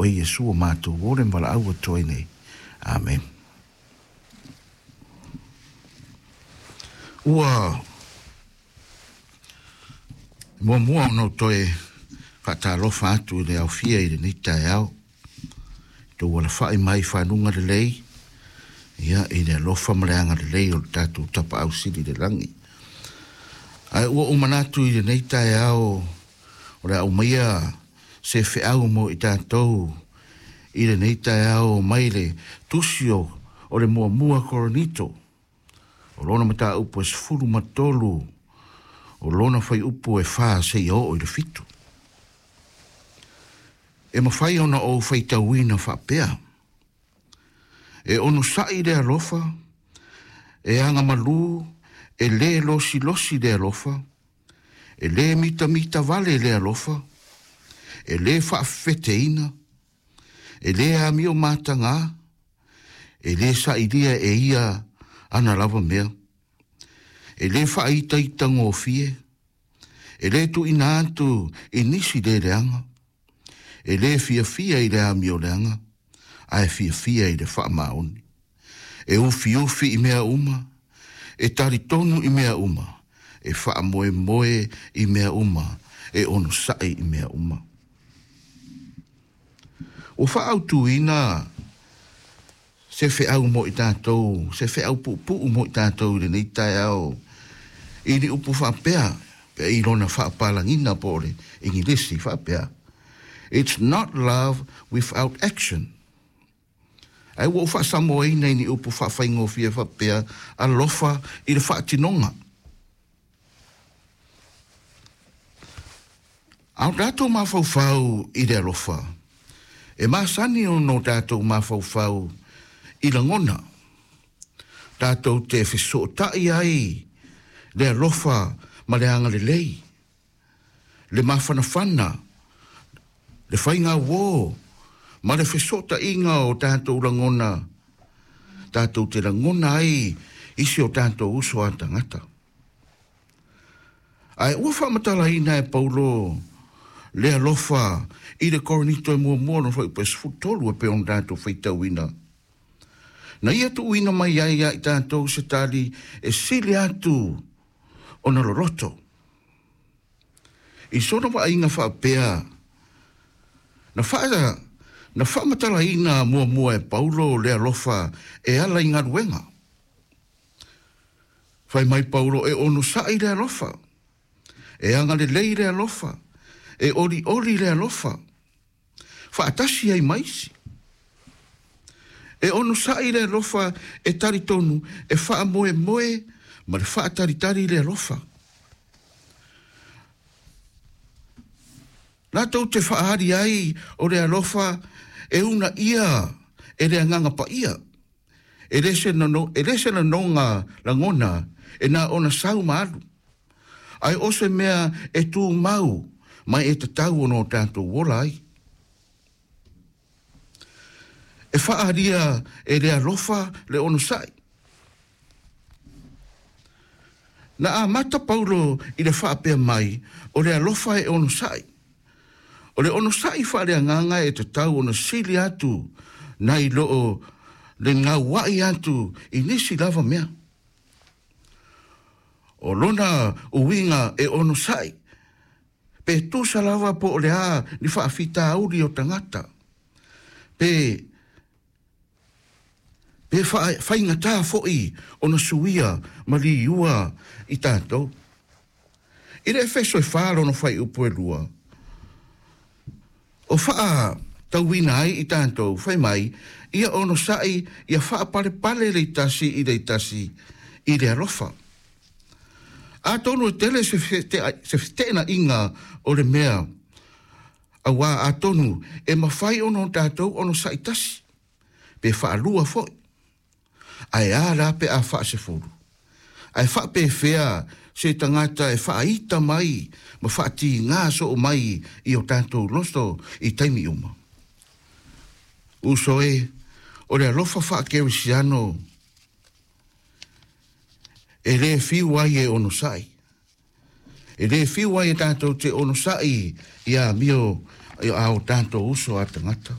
O oe Iesu o matou ola ma valaau atu ai nei. Amene. Ua muamua ona ou toe faatalofa atu i le aofia i lenei taeao, i tou alafai mai i fanuga lelei, ia, i le alofa ma le agalelei o le tatou Tapaau Sili i le Lagi. Ae ua ou manatu i lenei taeao o le a aumaia se feau mo i tatou i lenei taeao mai le Tusi o le Muamua Korinito, o lona mataupu e 13, o lona fuaiupu e 4 seia oo i le 7. E mafai ona ou faitauina faapea, e onosai le alofa, e agamalu, e lē losilosi le alofa, e lē mitamitavale le alofa, e lē faafefeteina, e lē amio matagā, e lē sailia e ia ana lava mea, e lē faaitaitagofie, e lē tuuina atu i nisi le leaga, e lē fiafia i le amioleaga, ae fiafia i le faamaoni. E ufiufi i mea uma, e talitonu i mea uma, e faamoemoe i mea uma, e onosai i mea uma. Ua faaautuina se feau mo i tatou, se feau puupuu mo i tatou i lenei taeao, i ni upu faapea, pe i lona faapalagina po o le Igilisi faapea, It's not love without action. Ae ua ou faasamoaina i ni upu faafaigofie faapea, alofa i le faatinoga. A o tatou mafaufau i le alofa, e masani ona o tatou mafaufau i lagona. Tatou te fesootai ai le alofa ma le agalelei, le mafanafana, le faigauō ma le fesootaiga o tatou lagona, tatou te lagona ai i si o tatou uso a tagata. Ae ua faamatalaina e Paulo le alofa i le Korinito e muamua lona fuaiupu e 13 e pei ona tatou faitauina. Na ia tuuina mai ai ia i tatou se tali e sili atu ona loloto. I sona vaaiga faapea, na faamatalaina muamua e Paulo le alofa e ala i galuega. Fai mai Paulo e onosai le alofa, e agalelei le alofa, e olioli le alofa, faatasi ai ma isi. E onosai le alofa e talitonu, e faamoemoe ma le faatalitali le alofa. Latou te faaali ai o le alofa e uunaia e le Agaga Paia, e le se lanoga lagona e na ona sau ma alu, ae o se mea e tumau mai e tatau ona o tatou ola ai. E faaalia e le alofa le onosai. Na amata Paulo i le faapea mai o le alofa e onosai. O le onosai faaleagaga e tatau ona sili atu nai loo le gauai atu i nisi lava mea. O lona uiga e onosai, pe tusa lava po o le a ni faafitauli o tagata, pe faigatā foi ona suia ma liua i tatou. I le Efeso e 4 lona fuaiupu e 2, o faatauina ai i tatou, fai mai, ia onosai, ia faapalepale le itasi i le itasi i le alofa. Atonu e tele se feteenaiga o le mea, auā atonu e mafai ona o tatou onosai tasi, pe faalua foi, ae a la pe a faasefulu. Ae faapefea se tagata e faaita mai ma faatigā soo mai i o tatou loto i taimi uma. Uso e, o le alofa faakerisiano e lē fiu ai e onosai. E lē fiu ai e tatou te onosai ia amio a o tatou uso a tagata.